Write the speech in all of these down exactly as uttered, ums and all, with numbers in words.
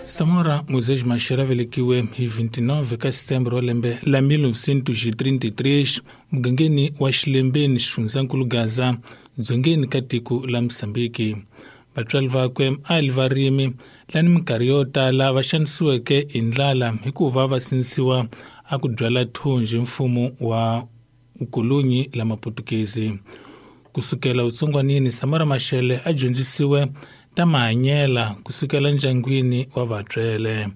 Samora Moisés Machel a velekiwe hi vinte e nove ka Setembro wa lembe la mil novecentos e trinta e três mugangeni wa Xilembeni, xifundzankulu Gaza, dzongeni ka tiko la Mosambiki. Vatswari vakwe a li varimi lani minkarhi yo tala va xanisiweke hi ndlala hikuva va sindzisiwa a ku byala thunji mfumo wa vukolonyi la Maputukezi. Kusukela vutsongwanini, Samora Machel a dyondzisiwe ta mahanyela kusukela ndyangwini wa vatswele.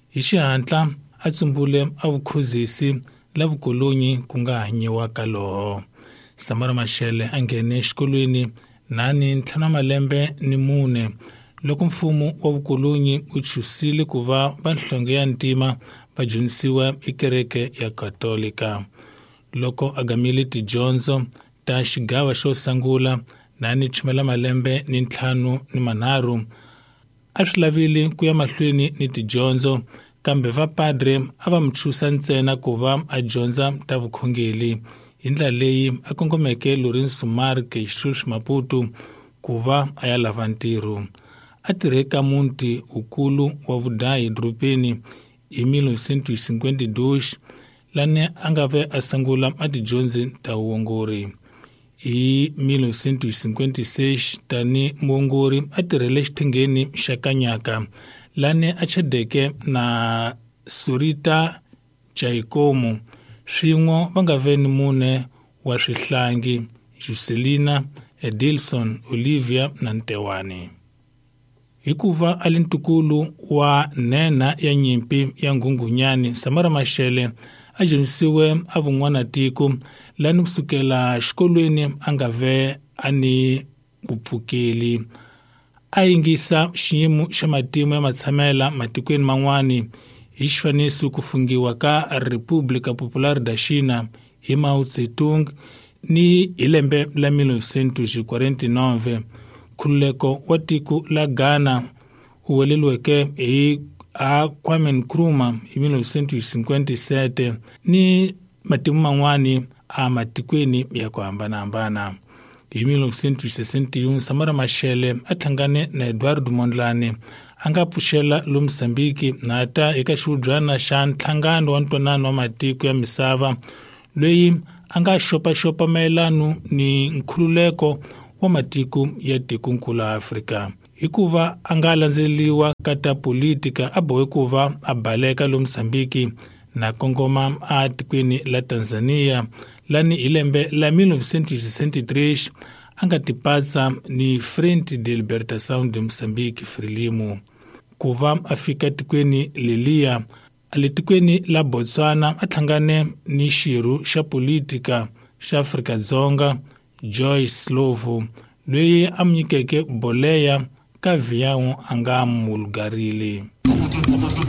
Hi xihatla a tsumbule a vukhozisi la vukolonyi ku nga hanyiwa ka loho. Samora Machel a nghene exikolweni nani ntlhanu wa malembe ni mune loko mfumo wa vukolonyi wu chusile ku va vanhlonge ya ntima va dyondzisiwa ekereke ya Katolika. Loko a gamile tidyondzo ta xigava xo sungula nani chumela malembe ni ntlhanu ni manharhu, a swi lavile ku ya mahlweni ni tidyondzo, kambe vapadre a va mu chusa ntsena ku va a dyondza ta vukhongeri. Hi ndlela leyi a kongomeke Lourenço Marques sweswi Maputo ku va a ya lava ntirho. A tirhe ka muti wukulu wa vudayi edorobeni hi mil novecentos e cinquenta e dois, lani a nga ve a sungula a tidyondzi ta vuongori. Hi mil novecentos e cinquenta e seis, tani muongori a tirhele xiphengeni xa Kanyaka, lani a chadeke na Surita Jaikomo. Swin'we va nga ve ni mune wa swihlangi: Juscelina, Edilson, Olivia na Ntewani. Hikuva a li ntukulu wa nhenha ya nyimpi ya Nghunghunyani, Samora Machel a dyondzisiwe a vun'wanatiko, lani kusukela xikolweni a nga ve a ni vupfukeli. A yingisa xiyimo xa matimu ya matshamela matikweni man'wani, hi xifaniso ku fungiwa ka República Popular da China hi Mao Zedong ni hi lembe la mil novecentos e quarenta e nove, nkhululeko wa tiko la Ghana wu weleriweke hi a Kwame Nkrumah hi mil novecentos e cinquenta e sete, ni matimu man'wani a matikweni ya ku hambanahambana. Hi mil novecentos e sessenta e um, Samora Machel a hlangane na Eduardo Mondlane a nga pfuxela lo Mozambique na ta eka xihubyana xa nhlangano wa ntwanano wa matiko ya misava, loyi a nga xopaxopa mayelano ni nkhululeko wa matiko ya tikonkulu Afrika. Hikuva a nga landzeleriwa ka ta politika, a bohe ku va a baleka lo Mozambique na kongoma a tikweni la Tanzania, lani hi lembe la mil novecentos e sessenta e três a nga tipatsa ni Frente de Libertação de Moçambique, Frelimo. Ku va a fika tikweni leliya, a le tikweni la Botswana a hlangane ni xirho xa politika xa Afrika-Dzonga Joyce Slovo, loyi a mu nyikeke boleya ka vhiyawu a nga mulugarile.